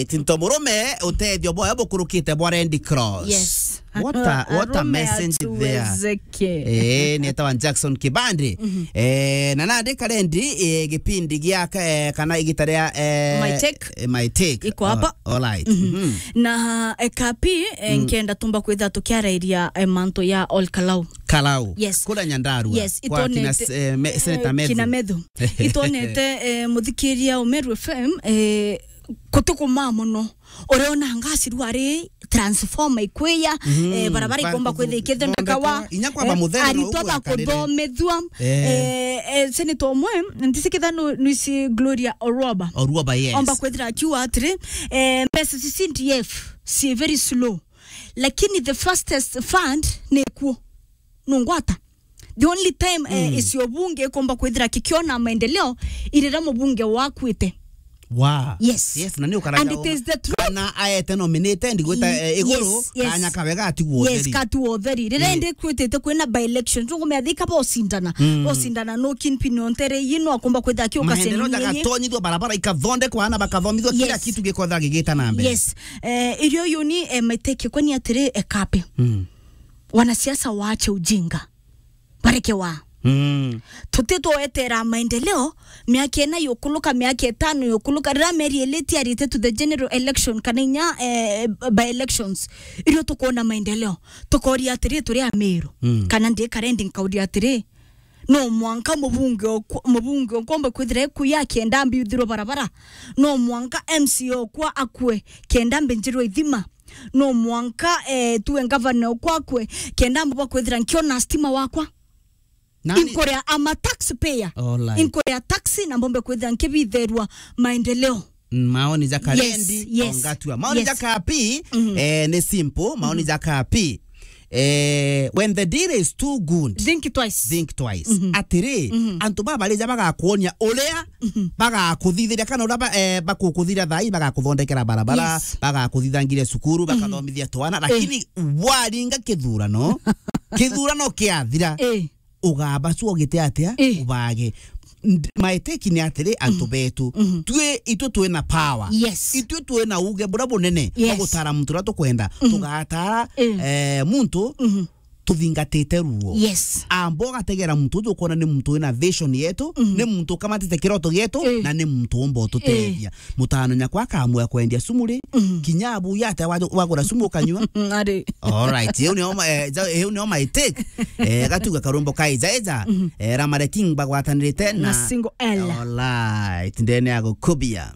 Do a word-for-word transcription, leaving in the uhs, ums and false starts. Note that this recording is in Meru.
Alright, nto murume, utethio bwayo bukurukite bwa Red Cross. Yes. What a, what a message there. Eh, ni etawa Jackson Kibande. Eh, na nandika rendi, eh, gipindi gia, eh, kana igita ria, eh, My Take. Eh, My Take. Iko hapa. Oh, alright. Na, eh, Kapi, eh, nkenda tumba kwitha tukiarairia, eh, mantu ya Ol Kalou. Kalou. Yes. Kura Nyandarua. Yes, kwa kina, itonete, eh, me-, Senator eh, Methu. Kina Methu. Itonete, eh, muthikiria Umeru F M, eh, kutukumaa mono. Ureona ngasi riu ari transformer ikwiya, eh, barabara ikomba kwithira ikithondekawa, inya kwamba muthenya no aritwa ugwekarire. Bakuthomethua, eh, eh, Senator omwe, ntisikitha nu-, nuisi Gloria Oruoba. Oruoba, yes. Omba kwithira akiuga atiri, eh, mbeca cia C D F ci very slow. Lakini the fastest fund ni kuo. Nungwata. The only time, eh, icio bunge ikomba kwithira kikiona maendeleo, irira mubunge wakwite. Wa. Yes. Yes, na ni ukaraga. And it is the truth. Na aete nominated, gwita, eh, iguru, yes, yes, kanya kawega atigwo utheri. Yes, katu utheri. Rira indi kwitite kwina by election, tungumea thika bosindana. Bosindana no kingpin ontere, you know, akomba kwithira kiuka. Maendeleo senini. Jagatonyithwa, barabara ikathondekwa, ana bakathomithwa, kila kitu gikotha gigita na mbere. Yes. Eh, irio yuni, eh, maiteke kwani atiri, eh, Kapi. Wanasiasa waache ujinga. Bareke wa. Tutitwetera maendeleo, miaka ina yukuluka, miaka itano yukuluka, rira Mary Eleti arite to the general election, kana inya, eh, by elections, irio tukwona maendeleo. Tukoria atiri, turi Amiru. Kana ndi karendi nkauria atiri, no mwanka mubunge okwa, mubunge okomba kwithira ekuya kenda mbiuthirwe barabara. No mwanka M C A okwa akwe kenda mbinjirwe ithima. No mwanka, eh, tuwe ngavana okwa akwe kenda mbumba kwithira nkiona stima wakwa. Nani? Inkuria, I'm a taxpayer. All right. Inkuria taxi na mbombe kwithira nkibitherwa maendeleo. Mm, maoni ja Karendi, yes, yes, ongatua. Maoni ja Kapi, eh, ni simple. Maoni ja Kapi. Eh, when the deal is too good, think twice. Think twice. Atiri, antu baba barija bagakuonia uria bagakuthithiria kana uria ba-, eh, bakukuthira thai, bagakuthondekera barabara, yes, bagakuthithangire cukuru, bakathomithia twana, lakini waringa kithurano, kithurano kiathira, eh, ugabacua ugite atia? Eh. Ubage. Nd-, maiteki ni atiri, antu betu. Twi, itwe twina power. Yes. Itwe twina uge bura bunene, yes, wa gutara muntu uria tukwenda. Tugatara, eh, muntu tuthingatite ruo. Yes. Amba ugategera muntu uju ukona ni muntu wina vision yetu, ni muntu ukamatite kiroto gietu, eh, na ni muntu umba ututethia. Mutano nyakwa akamua kwendia sumu ri, kinya abu yate wa-, wagura sumu ukanyua. Ari. All right. Iu nio ma-, eh, ja-, iu nio my take. Eh, gatuga karumbo kai jaija. Eh, Ramare King bagwatanirite na, na Single L. All right. Ndene ya gukubia.